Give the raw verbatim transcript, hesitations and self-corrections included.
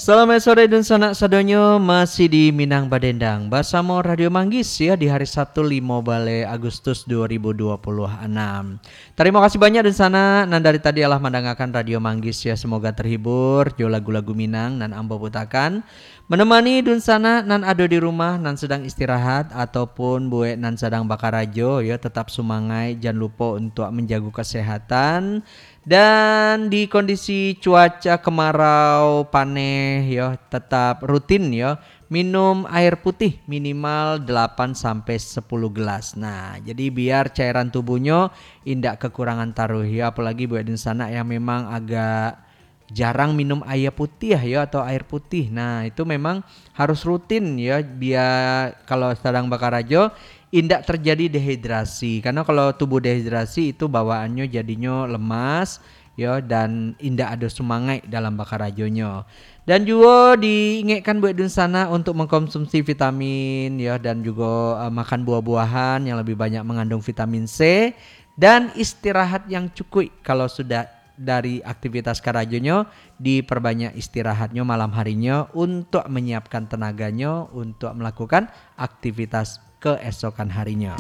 Selamat sore dunsanak sadonyo, masih di Minang Badendang basamo Radio Manggis ya di hari Sabtu limo baleh Agustus dua ribu dua puluh anam. Tarimo kasih banyak dunsanak nan dari tadi alah mandangakan Radio Manggis ya, semoga terhibur jo lagu-lagu Minang nan ambo putakan, menemani dunsanak nan ado di rumah nan sedang istirahat ataupun buek nan sadang bakarajo ya, tetap sumangaik, jan lupo untuak manjago kesehatan. Dan di kondisi cuaca kemarau, paneh yo, tetap rutin yo, minum air putih minimal delapan sampai sepuluh gelas. Nah, jadi biar cairan tubuhnyo indak kekurangan taruh yo, apalagi buek dunsanak yang memang agak jarang minum aia putiah yo atau air putih. Nah, itu memang harus rutin yo, biar kalau sadang bakarajo indak terjadi dehidrasi. Karena kalau tubuh dehidrasi itu bawaannyo jadinyo lemas yo dan indak ado sumangaik dalam bakarajonyo. Dan juo diingekkan buek dunsanak untuk mengkonsumsi vitamin yo dan jugo uh, makan buah-buahan yang lebih banyak mengandung vitamin C dan istirahat yang cukuik kalau sudah dari aktivitas karajonyo, diperbanyak istirahatnyo malam harinyo untuk menyiapkan tenaganyo untuk melakukan aktivitas keesokan harinyo.